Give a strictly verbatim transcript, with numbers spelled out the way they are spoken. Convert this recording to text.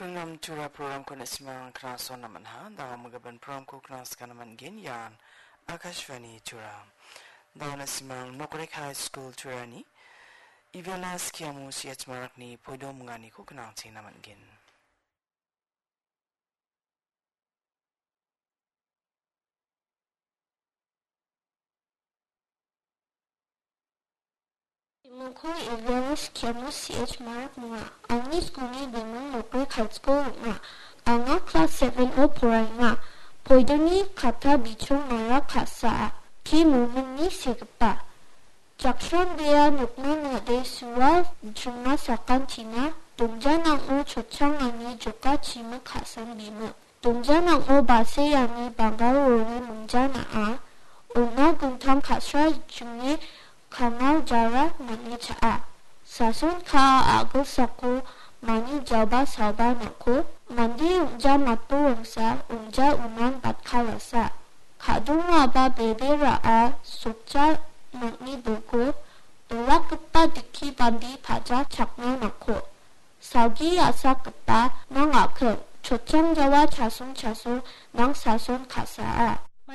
Pranam Tura programko na·simang knasona man·ha. Dawa magaban programko knasgana man·gen ian Akashvani Tura. Dawa na·simang Nokrik High School Turani Ivela Skiamo C H Marakni poido munganiko knangchengna man·gen. Bimingko Ivela Skiamo C H Marak munga. Angni skulni biming Nokrik High School ong·a. Anga klas seven-o poraenga. Poidoni katta bichongara ka·saa. Ki Muminni segipa. Jakson bea nokna nade sua chingna sakantina dongjanango chotchangani joka chimik ka·san bimik. Dongjanango baseani bangarori mingjanaa, ona gintang ka·sra jinge kangal jara man·e cha·a. Sason ka·a a·gilsako mani jaba salba nangko, mande ong·ja matbo wangsa ong·ja unan batkalasa. Ka·dongaba bebe ra·a sokja nang·ni bilko, dolakgipa dikki bambi paja chakna nangko. Salgi a·sakgipa nang a·kim, chotchangjawa chasong chasong nang sason ka·saa.